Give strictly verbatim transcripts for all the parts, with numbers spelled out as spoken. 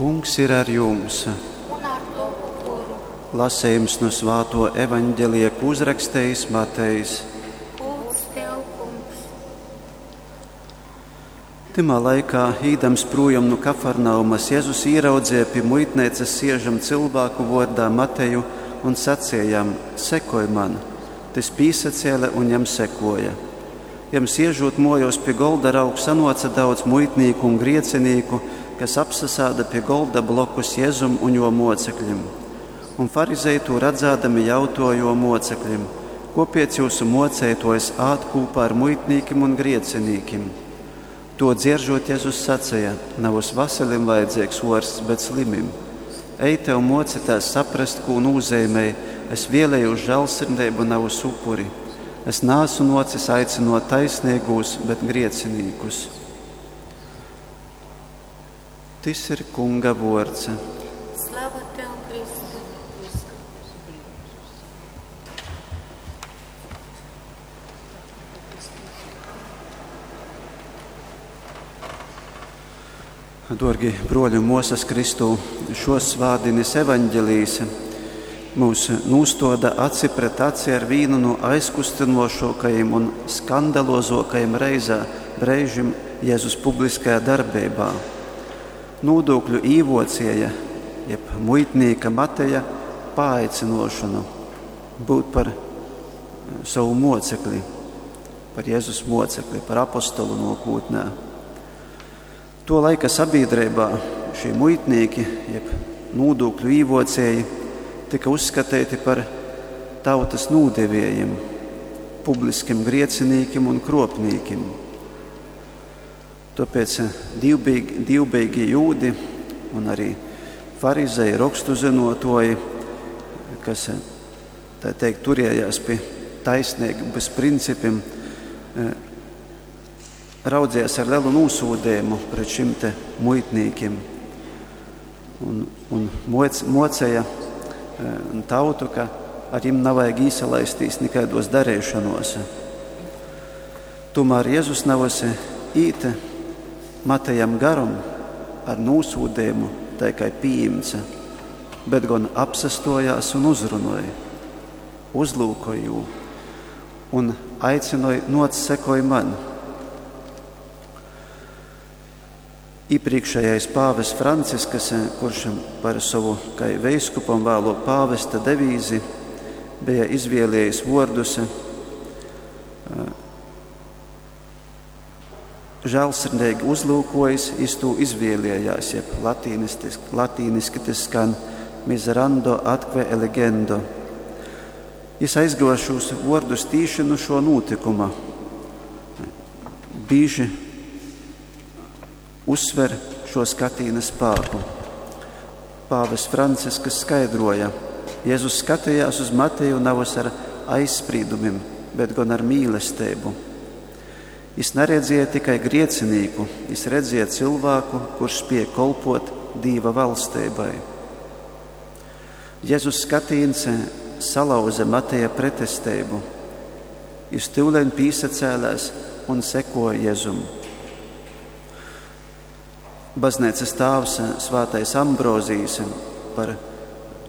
Kungs ir ar jums! Un ar tovu goru. Lasījums no Svāto evaņģelija, ko uzrakstījis Matejs. Gūds tev, Kungs! Tymā laikā, īdams projām no Kafarnaumas, Jēzus ieraudzīja pie muitnīcas siežam cilvēku vārdā Mateju un sacīja jam: Sekoj man! Tys pīsacēle un jam sekoja. Jam siežot mojos pie golda rauga sanoca daudz muitnīku un griecinīku, kas apsasāda pie golda blokus Jēzum un jo mocekļim. Un farizeji to redzēdami jautoja jo mocekļim: Kopiec jūsu mocētojs ād kūpā ar muitnīkim un griecinīkim? To dzieržot, Jēzus sacīja: Nav uz veselim vajadzīgs orsts, bet slimim. Ejte un mocitās saprast, ko nozīmē: Es vēlēju uz žēlsirdību, nav uz upuri. Es nāsu nocis aicinot taisnīgos, bet griecinīkus. Tis ir Kunga vords. Slava tev, Kristu! Dorgi broļi un mosas Kristū, šos svādinis evaņģelijas mūs nūstoda aci pret aci ar vīnu no aizkustinošākajiem un skandalozākajiem reizā breižim Jēzus publiskajā darbībā. Nodokļu īvocieja, jeb muitnīka Mateja paaicinošanu būt par savu mocekli, par Jēzus mocekli, par apostolu nokūtnē. To laika sabiedrībā šie muitnieki, jeb nodokļu īvocēji, tika uzskatīti par tautas nūdevējiem, publiskim griecinīkiem un kropnīkiem. Tāpēc divbīgi, divbīgi jūdi un arī farizeji, rakstu zinotoji, kas, tā teikt, turējās pie taisnības principiem, raudzījās ar lielu nosūdījumu pret šim te muitnīkiem un, un moc, mocēja tautu, ka ar viņiem nav vajag īsalaistīs nekādos darīšanos. Tomēr Jēzus navas īt Matejam garum ar nosūdījumu, tā kā pieņemts, bet gan apsastojās un uzrunoja, uzlūkoja jū un aicināja: Noc, sekoj man! Iepriekšējais pāvests Franciskas, kurš par savu kā veiskupam vēlo pāvesta devīzi bija izvēlējis vārdus žēlsirdīgi uzlūkojis, iz to izvēlējās, jeb latīniski tas skan miserando atque eligendo. Jis aizguva šos vārdus tīši no šo notikuma. Bīži uzsver šo skatīna spēku. Pāvests Franciskas skaidroja: Jēzus skatījās uz Mateju navas ar aizspriedumiem, bet gan ar mīlestību. Jis neredzēja tikai griecinīku, jis redzēja cilvēku, kurš spēja kolpot Dīva valstībai. Jēzus skatīns salauza Mateja pretestību. Jis tyuleņ pīsacēlēs un sekoja Jēzum. Baznīcas tēvs Svētais Ambrozijs par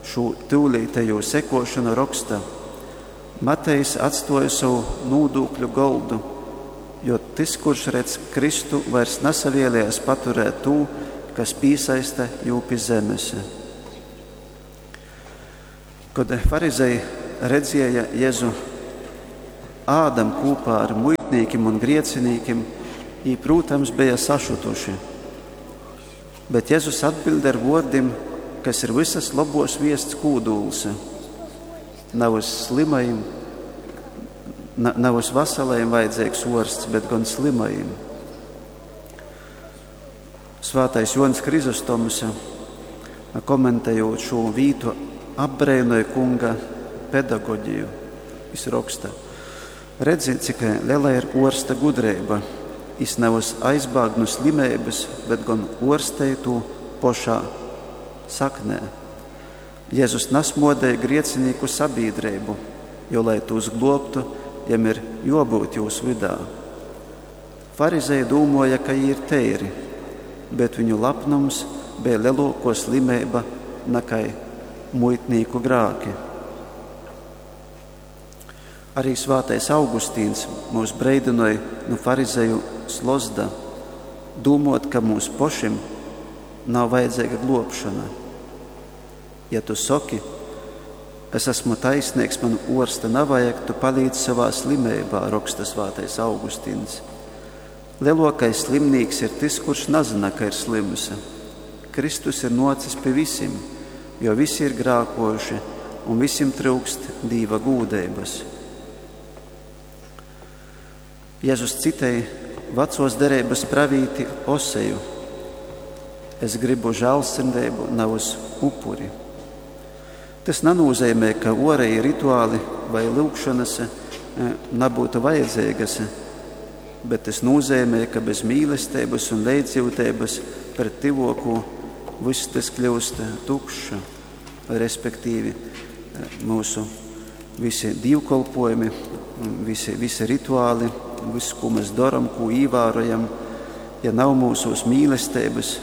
šo tyulītējo sekošanu raksta: Matejs atstoja savu nodokļu goldu, jo tas, kurš redz Kristu, vairs nesavēlējās paturēt to, kas piesaista jū pie zemes. Kad farizeji redzēja Jēzu ādam kopā ar muitnīkiem un griecinīkiem, jī, protams, bija sašutuši. Bet Jēzus atbild ar vārdiem, kas ir visas labos viests kūdūls. Nav uz slimajiem, nav uz veselajiem vajadzīgs orsts, bet gan slimajiem. Svētais Joans Hrizostoms, komentējot šo vītu, apbrēnoja kunga pedagoģiju. Viņš raksta: Redzi, cik liela ir orsta gudrība. Jis nevis aizbāg no slimības, bet gan orstēja to pošā saknē. Jēzus nasmodēja griecinīku sabiedrību, jo, lai tos globtu, jiem ir jābūt jūsu vidā. Farizeji dūmoja, ka jī ir teiri, bet viņu lepnums bija lielāko slimība nekā muitnīku grāki. Arī svētais Augustīns mūs breidinoja no farizeju slozda, domot, ka mums pošim nav vajadzīga globšana. Ja tu saki, es esmu taisnīgs, man orsta nav vajag, tu palīdz savā slimībā, raksta svētais Augustīns. Lielākais slimnīks ir tas, kurš nezina, ka ir slims. Kristus ir nocis pie visiem, jo visi ir grākojuši un visiem trūkst Dīva gūdeibas. Jēzus citēja vecos derības pravīti Oseju. Es gribu žēlsirdību, nevis upuri. Tas nenozīmē, ka orēji rituāli vai lūgšanas nebūtu vajadzīgas, bet tas nozīmē, ka bez mīlestības un līdzjūtības pret tuvāko viss tas kļūst tukšs, respektīvi mūsu visi dievkalpojumi, visi, visi rituāli, viss, ko mēs darām, ko ievērojam, ja nav mūsos mīlestības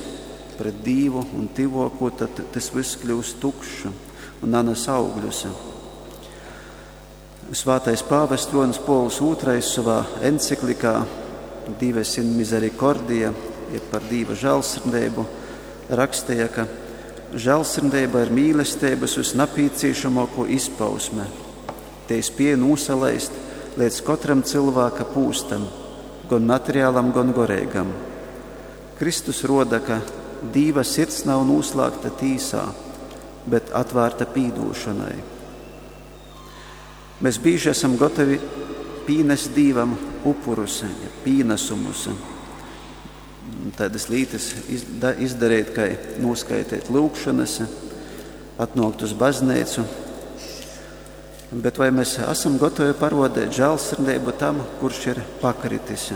pret Dievu un tuvāko, tad tas viss kļūst tukšs un nenes augļus. Svētais pāvests Jonis Pols otrais savā enciklikā Dives in Misericordia, jeb par Dieva žēlsirdību, rakstīja, ka žēlsirdība ir mīlestības visnapīcīšamāko izpausme. Te spēja nosalaist līdz katram cilvēka pūstam, gan materiālam, gan gorīgam. Kristus roda, ka Dieva sirds nav noslēgta tīsā, bet atvērta pīdūšanai. Mēs bieži esam gatavi pīnest Dievam upurus, ja pīnesumus. Tādas lietas izdarīt, kā noskaitīt lūgšanas, atnākt uz baznīcu. Bet vai mēs esam gatavi parodēt žēlsirdību tam, kurš ir pakritis?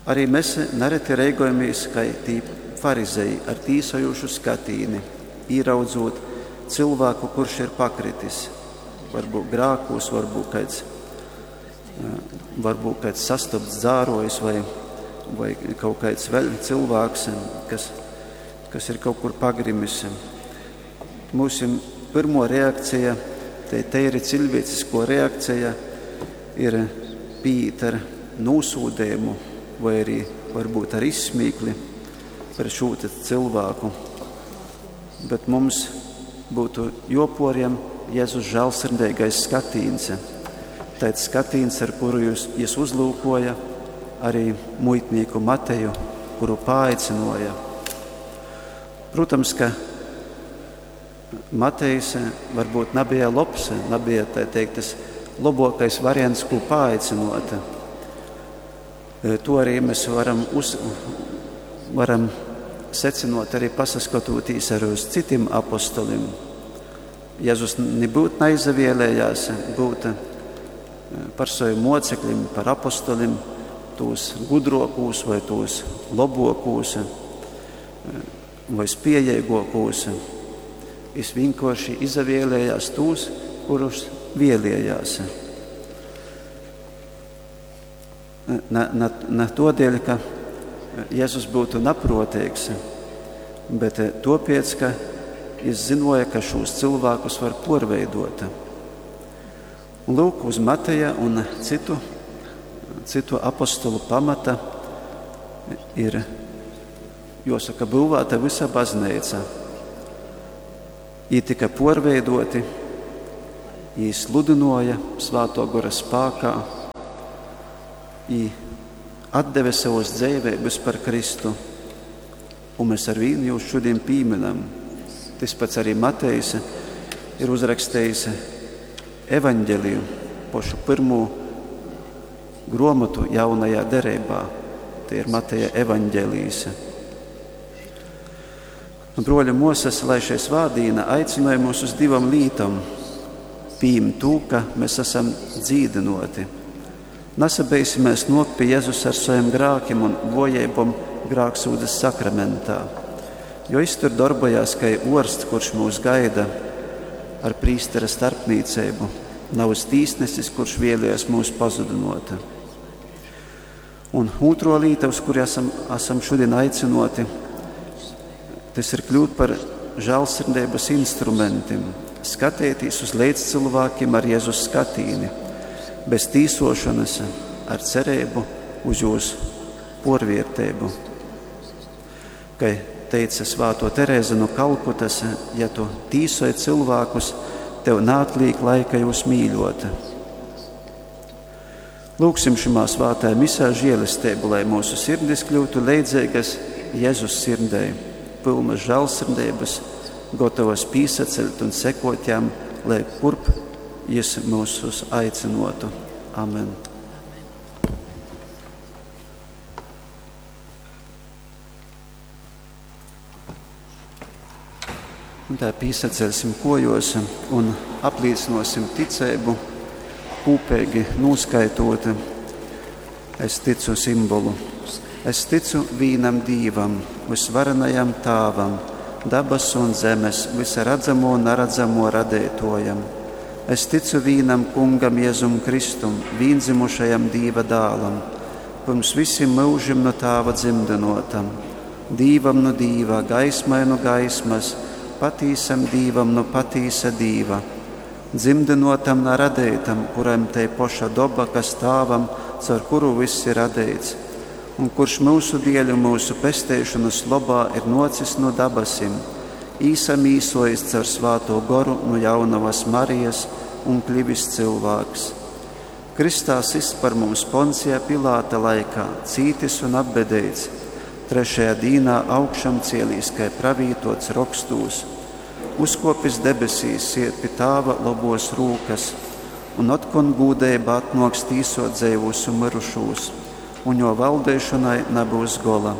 Arī mēs nereti reigojamies, kā tī farizeji ar tīsojušu skatīni, ieraudzot cilvēku, kurš ir pakritis. Varbūt grākos, varbūt kāds, varbūt kāds sastopts dzārojs vai, vai kaut kāds vēl cilvēks, kas, kas ir kaut kur pagrimis. Mūsu pirmo reakcija, te, te ir cilvēcisko reakcija, ir pīt ar nosūdējumu vai arī varbūt ar izsmīkli par šo cilvēku. Bet mums būtu joporiem Jēzus žēlsirdīgais skatīns. Tāds skatīns, ar kuru jūs, jūs uzlūkoja arī muitnieku Mateju, kuru paaicinoja. Protams, ka Matejs varbūt nebija labs, nebija tā teikt, tas labākais variants, ko paaicinot. To arī mēs varam, uz, varam secinot arī pasaskatoties arī uz citiem apostolim. Jēzus nebūtu neizvēlējās būt par saviem mocekļiem, par apostolim, tos gudrokūs vai tos labokūs vai spējīgākos. Viņš vienkārši izvēlējās tos, kurus vēlējās. Ne, ne, ne to dēļ, ka Jēzus būtu naprotīgs, bet topiec, ka viņš zinoja, ka šos cilvēkus var porveidot. Un lūk, uz Mateja un citu, citu apostolu pamata ir, jāsaka, būvēta visa baznīca. Jī tika porveidoti, jī sludinoja Svēto Gora spākā, jī atdeve savas dzīvības par Kristu, un mēs ar vīnu jūs šodien pieminam. Tas pats arī Matejs ir uzrakstījis evaņģeliju, pašu pirmo gromatu jaunajā derībā. Tie ir Mateja evaņģelijas. Un, broļi, mosas, lai šai svādīna aicināja mūs uz divam lītam. Pīm tū, ka mēs esam dzīdinoti. Nesabeisimies nok pie Jēzus ar saviem grākiem un vojībom grāksūdzes sakramentā. Jo es tur darbojās, kā orsts, kurš mūs gaida ar prīstera starpniecību, nav uz tīsnesis, kurš vēlējies mūs pazudinot. Un otro līta, uz kuru esam, esam šodien aicinoti, Tys ir kļūt par žālsirdeibas instrumentim, skateities uz leidzcylvākim ar Jezus skatīni, bez tīsošanas, ar cereibu uz jūs porvierteibu. Kai teica svāto Terēze no Kalkutas, ja tu tīsoj cilvēkus, tev naatlīk laika jūs mīļot. Lūksim šimā svātajā misā žēlestību, lai mūsu sirdis kļūtu leidzīgas Jēzus sirdei, pilnas žēlsirdības, gatavas pīsaceļt un sekot jam, lai kurp jis mūsus aicinotu. Amen. Un tā pīsaceļsim kojos un apliecinosim ticību, kūpīgi nūskaitot. Es ticu simbolu. Es ticu vīnam Dīvam, visvarenajam Tāvam, dabasu un zemes, visa redzamo un naredzamo radētojam. Es ticu vīnam Kungam Jēzum Kristum, vīndzimušajam Dīva dālam, pirms visiem mūžim no Tāva dzimdinotam, Dīvam no Dīva, gaismai no gaismas, patīsam Dīvam no patīsa Dīva, dzimdinotam na radeitam, kuram te poša doba, kas Tāvam, caur kuru viss ir radeits, un kurš mūsu dieļu, mūsu pesteišanas lobā ir nocis no dabasim, īsamīsojis caur svāto goru no jaunavas Marijas un kļivis cilvēks. Kristā sists par mums Poncija Pilāta laikā, cītis un apbedeits, trešajā dīnā augšam cielīs, kai pravītots rokstūs, uzkopis debesīs, iet pie Tāva lobos rūkas, un otkon gūdeiba atnoks tīsot dzeivūs un mirušūs, un jo valdēšanai nebūs gola.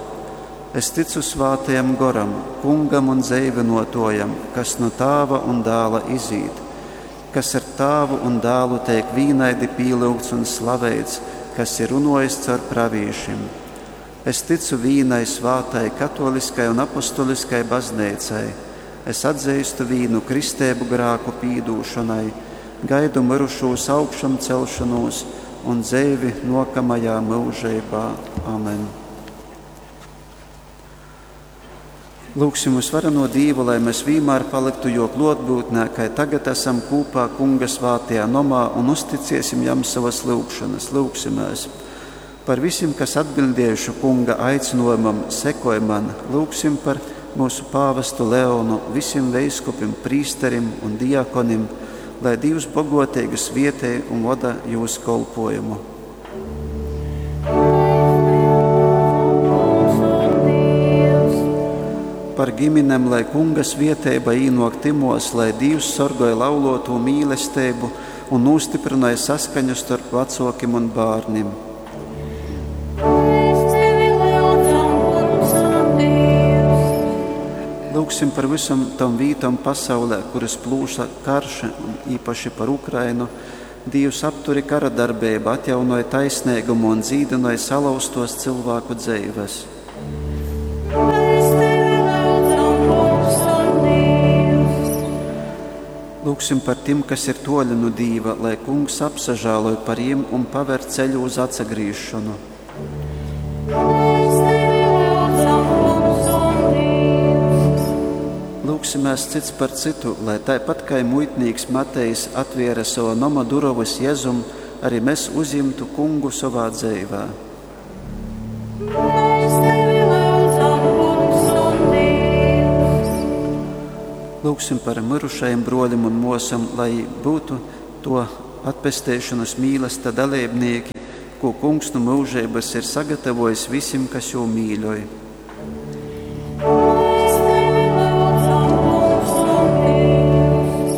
Es ticu svātajam goram, kungam un dzeivinotojam, kas no Tāva un dāla izīt, kas ar Tāvu un dālu tiek vīnaidi pīlūgts un slaveits, kas ir runojis caur pravīšim. Es ticu vīnai svātai, katoliskai un apostoliskai baznīcai. Es atzīstu vīnu kristēbu grāku pīdūšanai, gaidu mirušūs augšam celšanos un dzeivi nokamajā mūžībā. Amen. Lūksim visvareno Dīvu, lai mēs vienmēr paliktu jo klotbūtnē, kai tagad esam kūpā Kunga svātajā nomā un uzticiesim jam savas lūgšanas. Lūgsimēs. Par visiem, kas atbildējuši Kunga aicinojumam, sekoj man, lūgsim par mūsu pāvestu Leonu, visiem veiskupim, prīsterim un diakonim, lai Dievs bogotīgi svietē un vada jūsu kolpojumu. Par ģimenem, lai Kunga svietēba īnok timos, lai Dievs sorgoja lauloto mīlestību un nostiprināja saskaņu starp vecokim un bērnim. Lūksim par visam tom vītom pasaulē, kuras plūša karš, un īpaši par Ukrainu. Dievs apturi kara darbību, atjaunoja taisnīgumu un dzīdinoja salauztos cilvēku dzīves. Mēs tevi lūdzam, Kungs un Dievs. Lūksim par tiem, kas ir toļi no Dīva, lai Kungs apsažāloja par jiem un paver ceļu uz atsagrīšanu. Mēs tevi lūdzam, Kungs un Dievs. Lūksimēs cits par citu, lai tāpat kā muitnīks Matejs atviera savu noma durovas Jēzum, arī mēs uzimtu Kungu savā dzīvē. Mēs tevi lūdzam, Kungs un Dievs. Lūksim par mirušajiem broļiem un mosam, lai būtu to atpestēšanas mīlesta dalībnieki, ko Kungs no mūžības ir sagatavojis visiem, kas jū mīļoj. Mēs tevi lūdzam, Kungs un Dievs.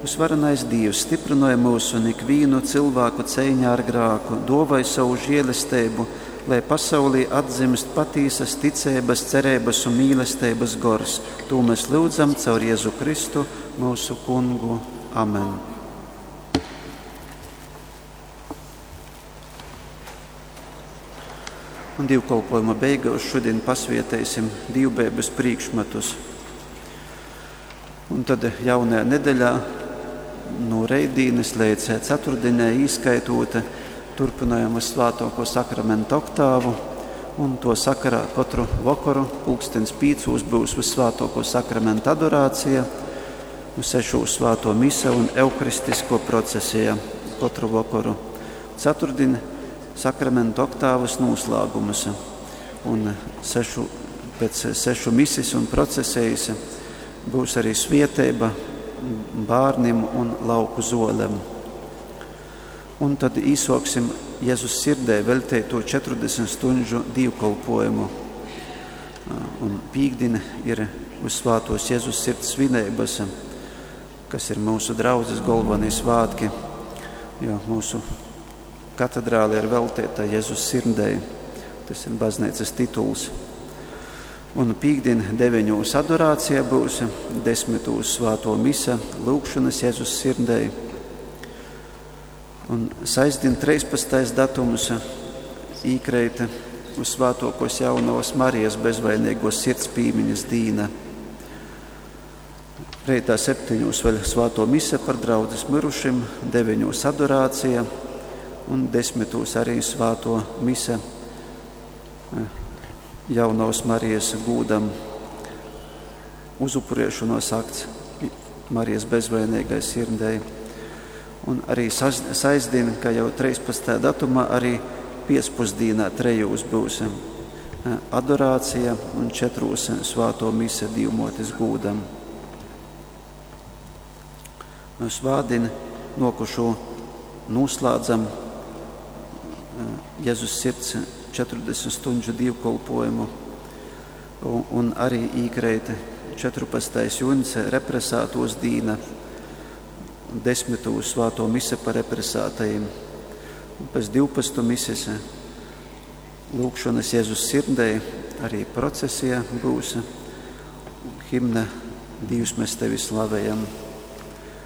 Visvarenais Dievs stiprināja mūs un ikvienu cilvēku cīņā ar grāku, dovai savu žēlestību, lai pasaulī atzimst patīsas ticības, cerības un mīlestības gors. To mēs lūdzam caur Jēzu Kristu, mūsu Kungu. Amen. Un dievkalpojuma beigās šodien pasvietēsim divbēbas priekšmetus. Un tad jaunajā nedēļā no reidīnes līdz ceturtdienai īskaitota turpinājam uz svētāko sakramentu oktāvu Un to sakarā katru vokoru pulkstens pīcūs būs Vissvātoko sakramenta adorācija, un sešūs svāto mise un euharistisko procesija katru vokoru. Ceturtdien sakramenta oktāvas noslēgumus un sešu, pēc sešu misis un procesijas būs arī svieteiba bērniem un lauku zolem. Un tad īsoksim Jēzus sirdē veltēto četrdesmit stunžu dievkalpojumu. Un pīkdien ir uz svātos Jēzus sirds svinības, kas ir mūsu draudzes galvenie svētki, jo mūsu katedrāle ir veltēta Jēzus sirdei. Tas ir baznīcas tituls. Un pīkdien deviņos adorācija būs, desmitos svāto mise, lūgšanas Jēzus sirdei. Un sestdien trīspadsmitais datums īkreita uz svētokos jaunavas Marijas bezvainīgo sirds pīmiņas dīna. Reitā septiņos vēl svāto mise par draudzes mirušim, deviņos adorācija un desmitos arī svāto mise jaunavas Marijas gūdam uzupurēšanos akts Marijas bezvainīgai sirdei. Un arī sestdien, kā jau trīspadsmitajā datumā, arī piecpusdienā trejos būs adorācija un četros svāto mise Dīvmotes gūdam. Svātdien nokušo noslēdzam Jēzus sirds četrdesmit stunžu dievkalpojumu un, un arī īkreita četrpadsmitais jūnijas represētos dīna, desmitūs svāto mise par represētajiem. Un pēc divpadsmit mises lūgšanas Jēzus sirdei arī procesija būs, himna Dievs mēs tevi slavējam.